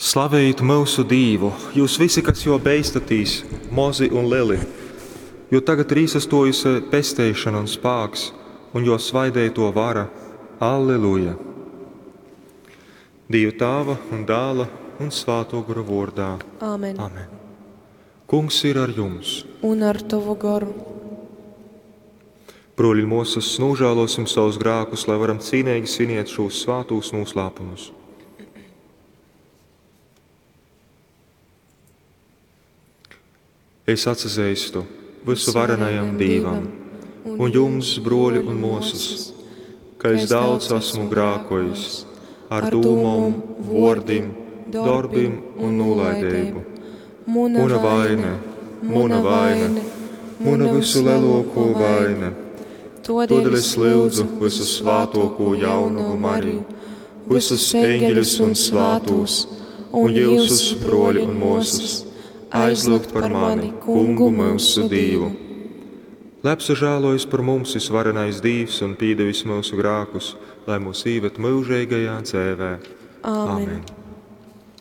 Slavejit myusu Dīvu, jyus visi, kas jō beistatīs, mozi un leli, jo tagad ir īsastōjuse pesteišona un spāks, un jō svaideitō vara. Alleluja! Dīva Tāva un Dāla un Svātō Gora vōrdā. Āmen. Amen. Kungs ir ar jums. Un ar tovu goru. Brōļi un mōsas, nožēlosim savus grēkus, lai varam cīnīgi svinēt šos svātūs noslēpumus. Es atsazeistu vysuvarenajam Dīvam un jums, brōļi un mōsas, ka es daudz esmu grākojis ar dūmom, vōrdim, dorbim un nūlaideibu. Muna vaine, muna vaine, muna vysulelōkō vaine. Tōdēļ es lyudzu vysusvātōkū jaunovu Mariju, vysus eņģeļus un svātūs, un jyusus, brōļi un mōsas, aizlyugt par mani Kungu myusu Dīvu. Lai apsažālojas par mums visvarenais Dīvs un pīdevis myusu grākus, lai mūs īved myužeigajā dzēvē. Āmen. Amen.